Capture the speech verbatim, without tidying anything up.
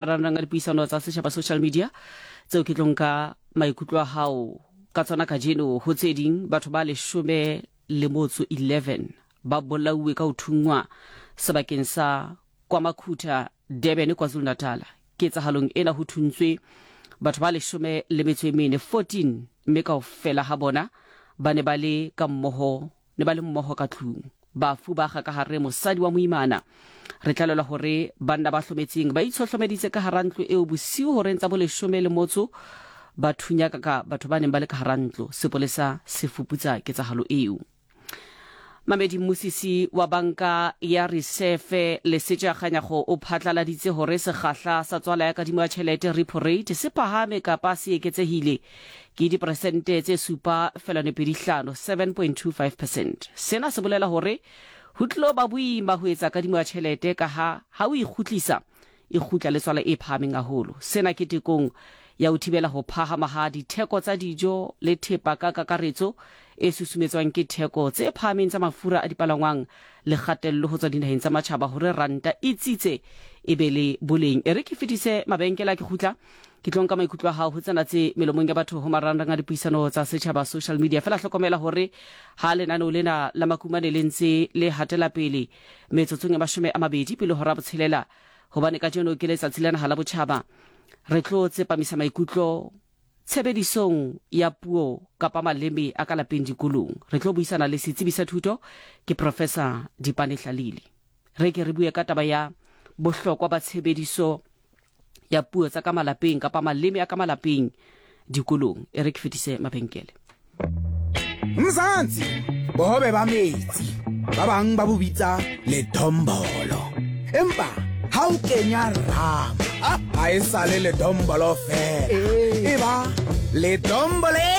Marangrang a dipuisano tsa setjhaba, social media, tseo ke tlo nka maikutlo a hao ka tsona kajeno. Ho tse ding, batho ba leshome le motso eleven ba bolauwe ka ho thunngwa sebakeng sa KwaMakhutha, Durban, KwaZulu-Natal. Ketsahalong ena ho thuntswe batho ba leshome le metso e mene, fourteen, mme kaofela ha bona ba ne ba le ka mmoho, ne ba le mmoho ka tlung. Bafu ba kga ka hare mosadi wa moimana. Re tlalelwa hore banna ba hlometseng ba itshohlomeditse ka hara ntlo eo bosiu horeng tsa boleshome le motso, ba thunya ka batho ba neng ba le ka hara ntlo. Sepolesa se fuputsa ketsahalo eo. Mamedi, mmusisi wa Banka ya Reserve Lesetša Kganyago o phatlaladitse hore sekgahla sa tswala ya kadimo ya tjhelete, repo rate, se phahame kapa se eketsehile ke diperesente tse supa feelwane pedi hlano, seven point two five percent. Sena se bolela hore ho tlilo ba boima ho etsa kadimo ya tjhelete, ka ha ha o ikgutlisa e kgutla le tswala e phahameng haholo. Sena ke tekong ya ho thibela ho phahama ha ditheko tsa dijo le thepa ka kakaretso e susumetswang ke theko tse phahameng tsa mafura a dipalangwang le kgatello ho tswa dinaheng tsa matjhaba hore ranta e tsitse, e be le boleng. E re ke fetise mabenkele, a ke kgutla ke tlo nka maikutlo a hao ho tsena tse melomong ya batho ho marangrang a dipuisano tsa setjhaba, social media. Fela hlokomela hore ha lenaneo lena la Makumane le ntse le hatela pele, metsotsong ya mashome a mabedi pele hora botshelela, hobane kajeno ke letsatsi la naha la botjhaba, re tlo tsepamisa maikutlo tshebedisong ya puo kapa maleme a ka lapeng dikolong. Re tlo buisana le setsebi sa thuto, ke Professor Dipane Hlalile. Re ke re bue ka taba ya bohlokwa ba tshebediso ya puo tsa ka malapeng kapa maleme a ka malapeng dikolong. E re ke fetise mabenkele. Mzansi, bohobe ba metsi, ba bang ba bo bitsa ledombolo, empa ha o kenya rama ha e sale ledombolo fela, e ba ledombolo.